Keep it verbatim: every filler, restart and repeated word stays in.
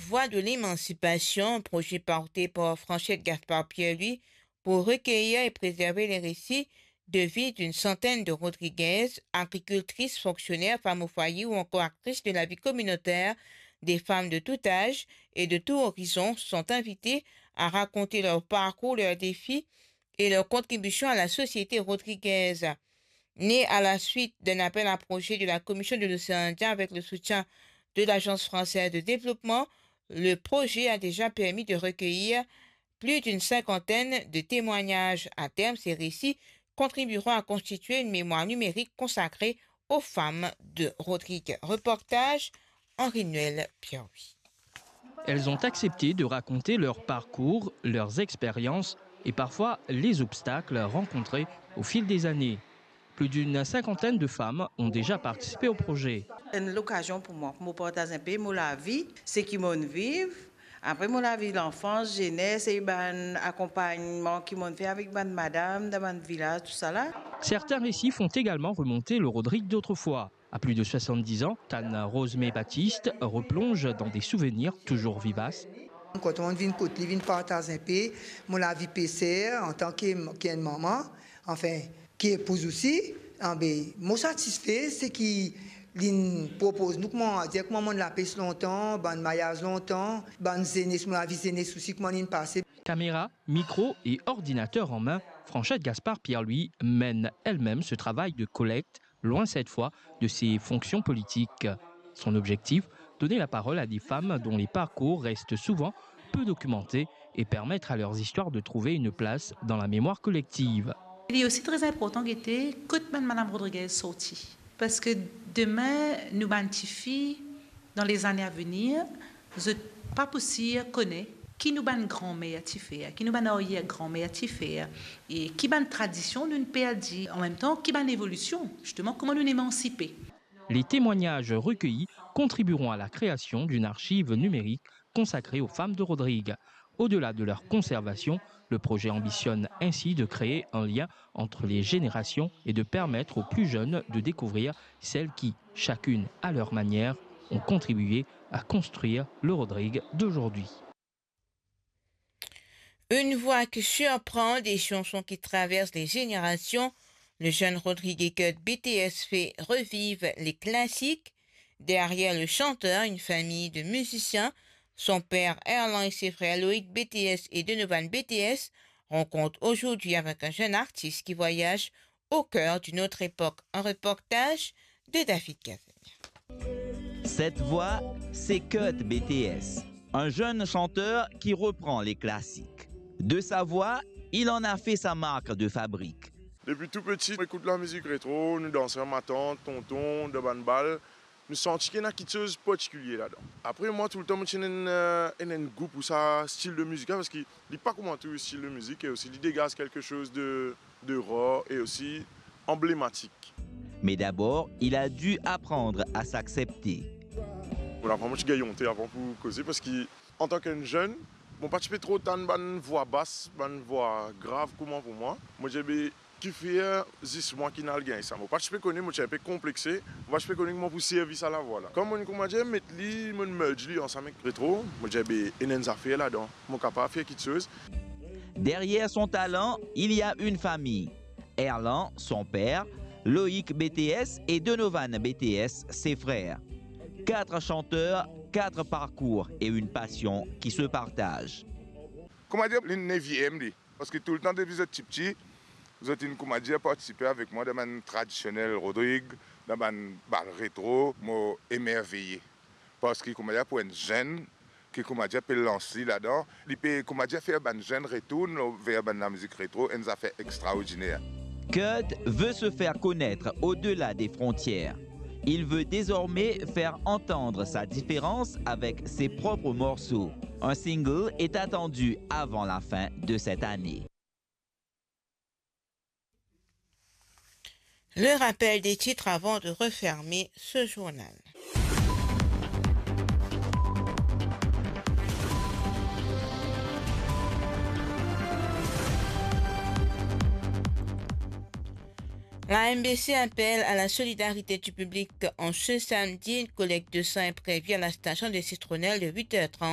Voix de l'émancipation, projet porté par Franchette Gaspard Pierre-Louis pour recueillir et préserver les récits de vie d'une centaine de Rodriguaises, agricultrices, fonctionnaires, femmes au foyer ou encore actrices de la vie communautaire. Des femmes de tout âge et de tout horizon sont invitées à raconter leur parcours, leurs défis et leur contribution à la société rodriguaise. Né à la suite d'un appel à projet de la Commission de l'océan Indien avec le soutien de l'Agence française de développement, le projet a déjà permis de recueillir plus d'une cinquantaine de témoignages. À terme, ces récits contribueront à constituer une mémoire numérique consacrée aux femmes de Rodrigue. Reportage, Henri-Noël Pierre-Louis. Elles ont accepté de raconter leur parcours, leurs expériences et parfois les obstacles rencontrés au fil des années. Plus d'une cinquantaine de femmes ont déjà participé au projet. Enn lokazion pou mwa, pou mo partaz inpe mo lavi, seki mo'nn viv, apre mo lavi lanfans, zenès e bann akonpagnman ki mo'nn fer avek bann madam dan bann vilaz, tousala. Certains récits font également remonter le Rodrigue d'autrefois. À plus de soixante-dix ans, Tana Rosemée Baptiste replonge dans des souvenirs toujours vivaces. Kan mo'nn vinn kot li, vinn partaz inpe mo lavi peser antan ki, ki enn mama, anfin, ki epouz osi, anbe, mo satisfe seki li'nn propoz nou, kouma dir, kouma mo'nn lapes lontan, bann maryaz lontan, bann zenes, mo lavi zenes osi, kouma li'nn pase. Caméra, micro et ordinateur en main, Franchette Gaspard Pierre-Louis mène elle-même ce travail de collecte, loin cette fois de ses fonctions politiques. Son objectif, donner la parole à des femmes dont les parcours restent souvent peu documentés et permettre à leurs histoires de trouver une place dans la mémoire collective. Li osi tre inportan gete kot bann madam Rodriguez sorti. Parski demin, nou bann tifi, dan lezane avenir, zot pa pou sir kone ki nou bann granmer ti fer, ki nou bann aryer granmer ti fer, e ki bann tradision nou'nn perdi, anmemtan ki bann evolision, zisteman, kouma nou'nn emansipe. Les témoignages recueillis contribueront à la création d'une archive numérique consacrée aux femmes de Rodrigue. Au-delà de leur conservation, le projet ambitionne ainsi de créer un lien entre les générations et de permettre aux plus jeunes de découvrir celles qui, chacune à leur manière, ont contribué à construire le Rodrigue d'aujourd'hui. Une voix qui surprend, des chansons qui traversent les générations. Le jeune Rodrigue Kurt B T S fait revivre les classiques. Derrière le chanteur, une famille de musiciens. Son père Erlan et ses frères Loïc B T S et Donovan B T S rencontrent aujourd'hui avec un jeune artiste qui voyage au cœur d'une autre époque. Un reportage de David Cavagna. Cette voix, c'est Kurt B T S, un jeune chanteur qui reprend les classiques. De sa voix, il en a fait sa marque de fabrique. Depuis tout petit, on écoute la musique rétro, nous dansons, ma tante, tonton, dan bann bal. Nou santi ki ena kiksoz partikilie ladan. Apre, mwa, toultan, mo ti ena enn, euh, enn, enn gou pou sa stil de mizik la, parski li pa kouma tou stil de mizik, e osi li dégaz quelque chose de, de rare e osi anblematik. Mais d'abord, il a dû apprendre à s'accepter. Mo aprann mo ti gagn onte avan pou koze, parski antan ki enn zenn, mo pa ti pe tro tann bann vwa bas, bann vwa grav kouma pou mwa. Mo dir, be, kifer zis mwa ki'nn al gagn sa? Mo pa ti pe kone, mo ti inpe konplexe, mo pa ti pe kone kouma pou servi sa lavwa la. Kan mo'nn, kouma dir, met li, mo'nn merge li ansam ek retro, mo dir, be, ena enn zafer ladan, mo kapav fer kiksoz. Derrière son talent, il y a une famille. Erlan, son père, Loïc B T S et Donovan B T S, ses frères. Quatre chanteurs, quatre parcours et une passion qui se partagent. Kouma dir, li neviem li, parski toultan depi zot tipti, zot inn, kouma dir, partisipe avek mwa dan bann tradisionel Rodrig, dan bann bal retro, mo emerveye. Parski, kouma dir, pou enn zenn ki, kouma dir, pe lans li ladan, li pe, kouma dir, fer bann zenn retourn ver bann lamizik retro, enn zafer extraordiner. Kurt veut se faire connaître au-delà des frontières. Il veut désormais faire entendre sa différence avec ses propres morceaux. Un single est attendu avant la fin de cette année. Le rappel des titres avant de refermer ce journal. La M B C appelle à la solidarité du public en ce samedi. Une collecte de sang est prévue à la station de Citronnelle de huit heures trente